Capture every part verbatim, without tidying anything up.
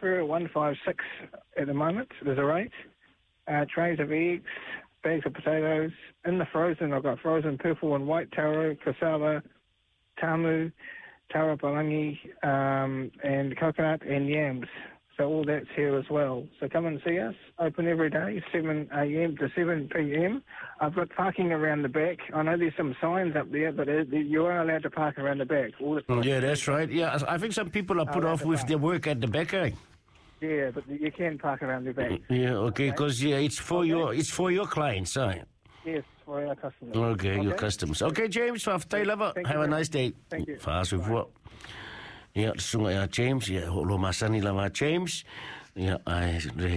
Kafir, one five six at the moment. There's a rate. Uh, trays of eggs, bags of potatoes. In the frozen, I've got frozen purple and white taro, cassava, tamu, taro palangi, um, and coconut and yams. So all that's here as well. So come and see us. Open every day, seven a.m. to seven p.m. I've got parking around the back. I know there's some signs up there, but you are allowed to park around the back. All the Yeah, that's right. Yeah, I think some people are put off with their work at the back, eh? Yeah, but you can park around the back. Yeah, okay, because yeah, it's for okay. your it's for your clients, eh? Yes, for our customers. Okay, okay. Your customers. Okay, James, faafetai lava. Have a nice day. Thank you. Fa'asoifua. Ia, le susuga ia James, ia, o lo masani lava James, ia, ai, le,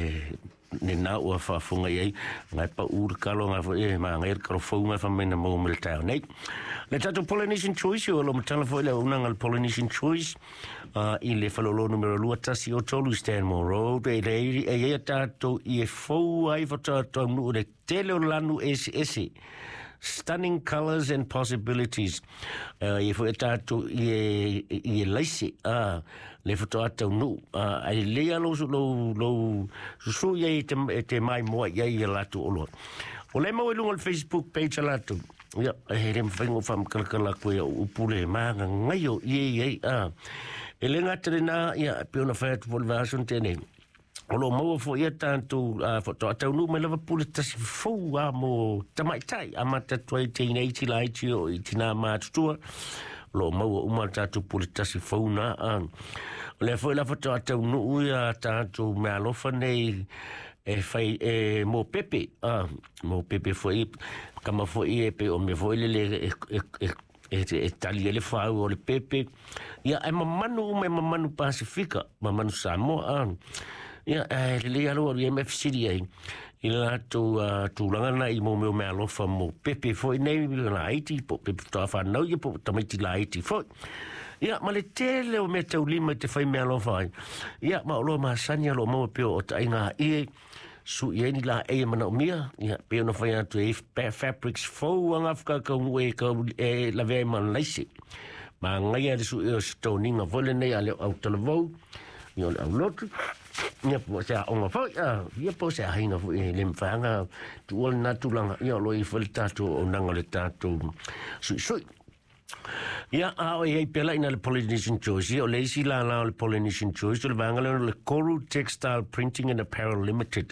le nā ua faafofoga i ai, ngai paʻu le kalo, ngai foi, e, magai le kalo fou ngai fai mai na maua mai le taeao nei. Le tatou Polynesian Choice, o lo matala foi le auaunaga a le Polynesian Choice, uh, i le faleoloa numera lua tasi o tolu Stanmore Road, e le, e i ai a tatou i e fou ai faatoa taunuu le tele o lanu eseese. Stunning colours and possibilities. Uh, i foi tatou i e, i e laise, uh, le faatoa taunuu. Uh, ai le alo su lo, lo susu i te, te mai moa i ai i latou oloa. O le mau i luga o le Facebook page a latou. Ia, e le mawhai ngō whamakalakala koe au upu le maga ngaio i e i ai. E le ngata le nā, ia, pe ona whai atu fo le vahason tēnei. O lo maua fo ia tātou uh, faatoa taunuu mai lava pule tasi fou a mo tamaitai a mata tuai teinei ti lai ti o i tina mātutua. O lo maua uma tātou pule tasi fou nā. A. O lea foi la faatoa taunuu ia tātou mea alofa nei e whai e mō pepe. A, mō pepe foi, kama foi e pe o mea foi lele e, e, e, e, e tali e le whau o le pepe. Ia, e mamanu uma e mamanu Pasifika, mamanu Samoa. A. Ia, e le alo alu M F City ai. I le latou uh, tulaga na i mō meo mea alofa mō pepe foi nei la aiti, po pepe toa whanau ia, po tamaiti la aiti foi. Ia, ma le tele o mea taulima i te whai mea alofa ai. Ia, ma o loa masani alo maua peo o tainga ie, su i ni la e mana o mia, ia, peo na whai atu e fabrics fou anga whakakau e kau e lavea i mana laise. Ma ngai le su e o sitoninga foi lenei a le au talavou, ia o le au lotu. Ia po se aoga foi, ia po se aiga foi e le mawhanga tuua le nā tulaga, ia o lo i foi le tātou auaunaga le tātou suisui. Ia a o i ai pela ina le Polynesian Choice, ia o le isi la la o le Polynesian Choice, o le vaega lea o le Koru Textile Printing and Apparel Limited,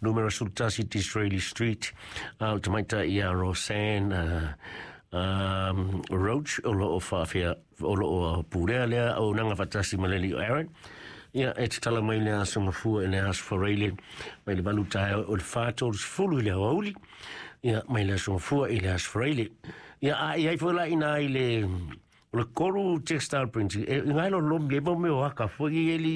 numera sefulutasi Disraeli Street, a o le tamaita ia Roseanne uh, um, Roach, o lo o whaafea, o lo o pūrea lea, o nanga whatasi maleli o Aaron. Ia, e te tala mai le aso mafua e le aso whareile, mai le valu tae o le whātolu sefulu i le hauli, ia, mai le aso mafua i le aso whareile. Ia, a i ai foi la ina i le, o le Koru Textile Printing, e ngai lo lomi e mo meo haka foi i eli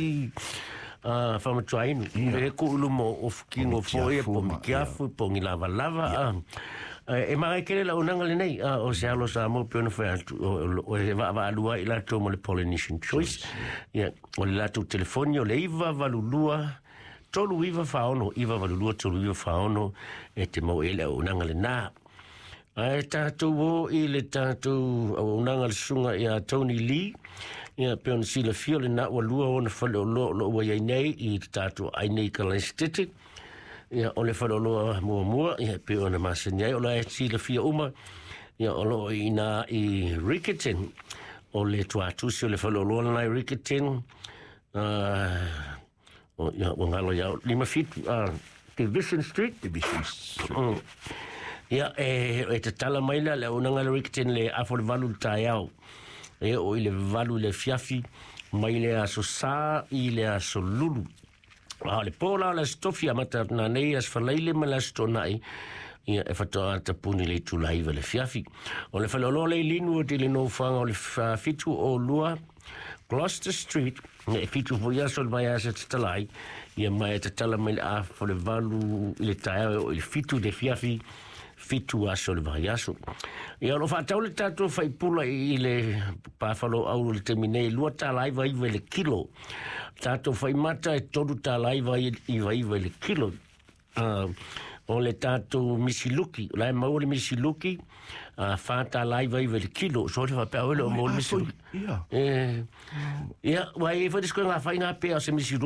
uh, whamatuainu. E ko ulu mo o fukingo foi, po mikiafu, po ngi lava lava. E magai kele la unanga le nei, o se alo sa mo pe ona whai atu, o e va va alua i latou mo le Polynesian Choice. Ia, o le latou telefoni o le iwa valu lua, tolu iwa whaono, iwa valu lua, tolu iwa whaono, e te mau ele au unanga le nā. Ai tātou o i le tātou au unanga le sunga ia Tony Lee, ia pe ona sila fio le nā ua lua ona whale o loa o loa ua iai nei i te tātou ai nei ka laisitete. Ia o le whale o loa mua mua, ia pe ona masani ai o la e sila fia uma, ia o loa i nā i Riccarton, o le tuatusi o le whale o loa nai Riccarton, uh, o, ia, o ngalo ia, lima fitu, uh, Division Street. Division Street. Mm. Ia, e, e te tala mai la, le unanga le Riccarton le afo le valu le taeao. E o i le valu le fiafi, mai le aso sā i le aso lulu. A le pōla o le aso tofi a mata nā nei aso whalaile ma le aso tōnai, ia e whatoa tapuni le tūlaiva le fiafi. O le whaleoloa le linu o te le nōwhanga o le whitu o lua, Gloucester Street, e whitu fo ia so le mai asa te talai, ia mai e te tala mai le afo le valu i le taeao o i le whitu le fiafi, fitu aso le vai aso. Ia o lo whaatau le tātou whaipula i le pāwhalo au le temi nei, lua tālaiva iwa i le kilo. Tātou whaimata e toru tālaiva iwa iwa i le kilo. Uh, o le tātou misiluki, o la e maua le misiluki, uh, whā tālaiva iwa i le kilo. So le whapea oele o maua le misiluki. Ia. Ia, wai e whai disko ngā whai ngā pea o se misiluki.